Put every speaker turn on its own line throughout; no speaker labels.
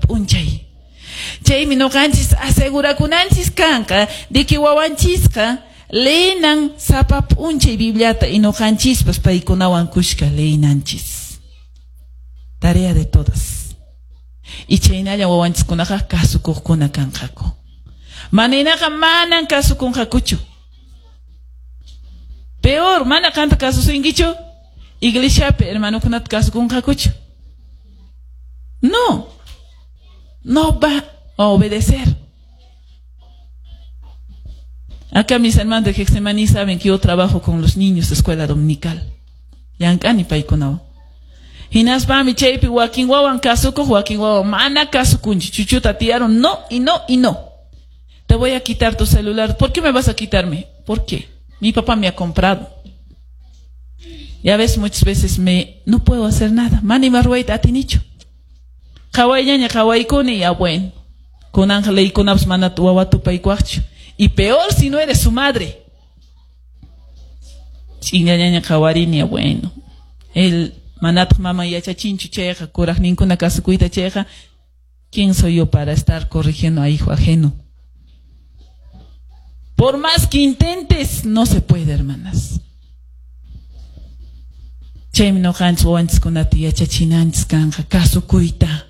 p'unchay. Chaymi nuqanchis asegurakunanchis kanqa de que wawanchisqa leenan sapa p'unchay Bibliata y nuqanchispas paykunawan kushka leenanchis. Tarea de todas. Y chaynalla wawanchiskunaqa kasukuqkuna kanqaku. Maninaqa manan kasukunqakuchu. Peor, mana qanta kasusunkichu, iglesiapi hermanokunata kasukunqakuchu. No, no va a obedecer. Acá mis hermanos de Getsemaní saben que yo trabajo con los niños de escuela dominical. Llank'ani paykunawan. Hinaspami chaypi wakin wawan kasukuq, wakin wawan mana kasukunchu. Chuchuta tiyarun, no y no y no. Te voy a quitar tu celular. ¿Por qué me vas a quitarme? ¿Por qué? Mi papá me ha comprado. Ya ves, muchas veces me no puedo hacer nada. Mana ima ruwayta atinichu. Qhawayllaña qhawaykuni, ya bueno. Kunanqa leykunapas mana wawa tupaykuwaqchu. Y peor si no eres su madre. Ch'inllañaña qhawarini, ya bueno. El manataq maman yachachinchu chayqa, kuraqninkuna kasukuyta chayqa, ¿quién soy yo para estar corrigiendo a hijo ajeno? Por más que intentes, no se puede, hermanas. Chaymi nuqanchis wawanchiskunata yachachinanchis kanqa kasukuyta.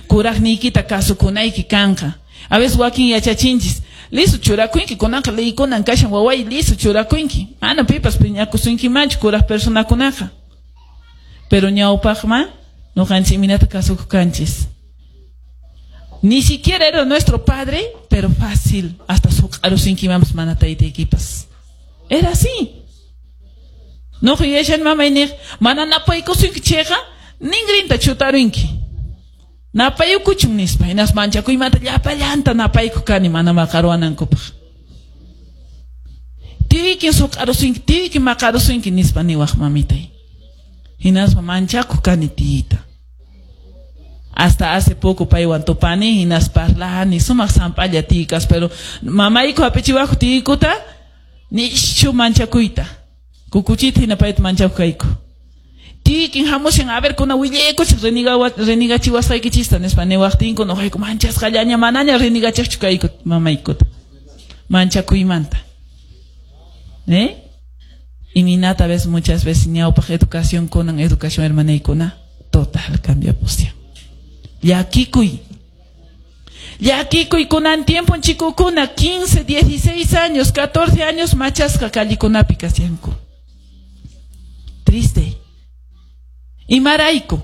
Kuraqniykita kasukunayki kanqa. A veces wakin yachachinchis, listo churakunki, kunanqa leykunan kashan waway, listo churakunki. Mana pipas phiñakusunkimanchu kuraq personakunaqa. Pero ñawpaqma nuqanchis imaynata kasukuq kanchis. Ni siquiera era nuestro padre, pero fácil, hasta suq'arusinkimanpas mana taytaykipas. Era así. Nuqa yuyashani mamay niq, mana napaykusunki chayqa, ningrinta chutarunki. Napayukuchun nispa, hinaspa manchakuymanta llapallanta napaykuq kani mana maqaruwanankupaq. Tiyuykin suq'arusunki, tiyuykin maqarusunki nispa niwaq mamitay. Hinaspa manchakuq kani tiyuyta. Hasta hace poco paywan tupani, hinaspa parlani, sumaq samp'alla tiy kaspa, pero mamayku hap'ichiwaqku tiyuykuta, nishu manchakuyta. Kukuchita hina payta manchakuq kayku. Tiyuykin hamushan, a ver, kuna willaykuchik renigachiwasqaykichista nispa niwaqtinku, nuqayku manchasqallaña manaña renigachiqchu kayku mamaykuta. Manchakuymanta. ¿Eh? Imaynata ves muchas veces ñawpaq educación kunan educación hermanaykuna total cambiapushan. Llakikuy. Llakikuy kunan tiempo chikukuna 15, 16 años, 14 años machasqa callikunapi kashanku. Triste. Imarayku.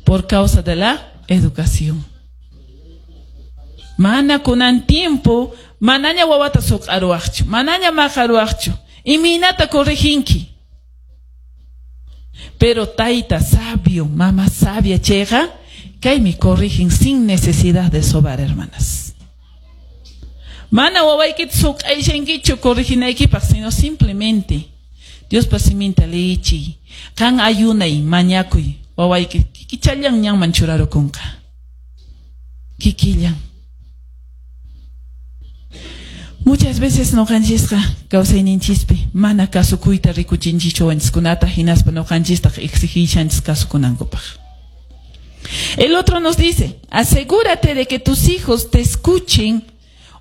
Por causa de la educación. Mana kunan tiempo, manaña wawata suq'aruwaqchu, manaña maqaruwaqchu. Imaynata corriginki. Pero tayta sabio, mama sabia chayqa, kaymi corrigen sin necesidad de sobar, hermanas. Mana wawaykita suq'ayshankichu corriginaykipaq, sino simplemente Diospa siminta leechiy, qan ayunay, mañakuy, wawayki kikichallan ñanman churarukunqa. Kikillan. Muchas veces nuqanchisqa kawsayninchispi mana kasukuyta rikuchinchischu wawanchiskunata, hinaspa nuqanchistaq exigishanchis kasukunankupaq. El otro nos dice, asegúrate de que tus hijos te escuchen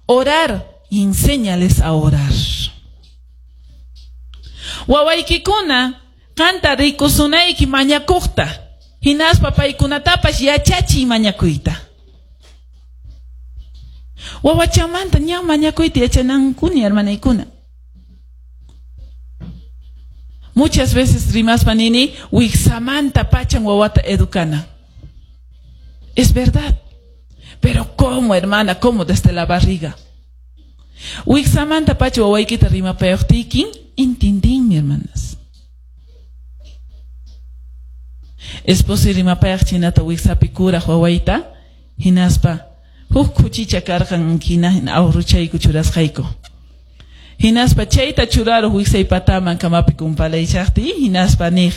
orar y enséñales a orar. Wawaykikuna qanta rikusunayki mañakuqta, hinaspa paykunatapas yachachiy mañakuyta. Wawachamanta ña mañakuyta yachanankuni, hermanaykuna. Muchas veces rimaspa nini, wiksamanta pachan wawata educana. Es verdad. Pero ¿cómo, hermana? ¿Cómo desde la barriga? Wiksamanta pacha wawaykita rimapayuqtiykin, intindinmi, hermanas. Esposo rimapayaq chinata wiksapi kuraq wawayta, hinaspa huk kuchicha karqan hina awruchayku churasqayku. Hinaspa chayta churaruq wiksay pataman kamapi kumpalaychaqti, hinaspa niq,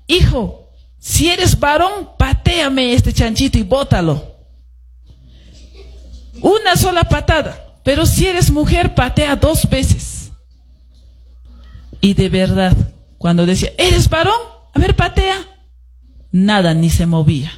hijo, si eres varón, patéame este chanchito y bótalo. Una sola patada, pero si eres mujer, patea 2 veces. Y de verdad, cuando decía, ¿eres varón? A ver, patea. Nada, ni se movía.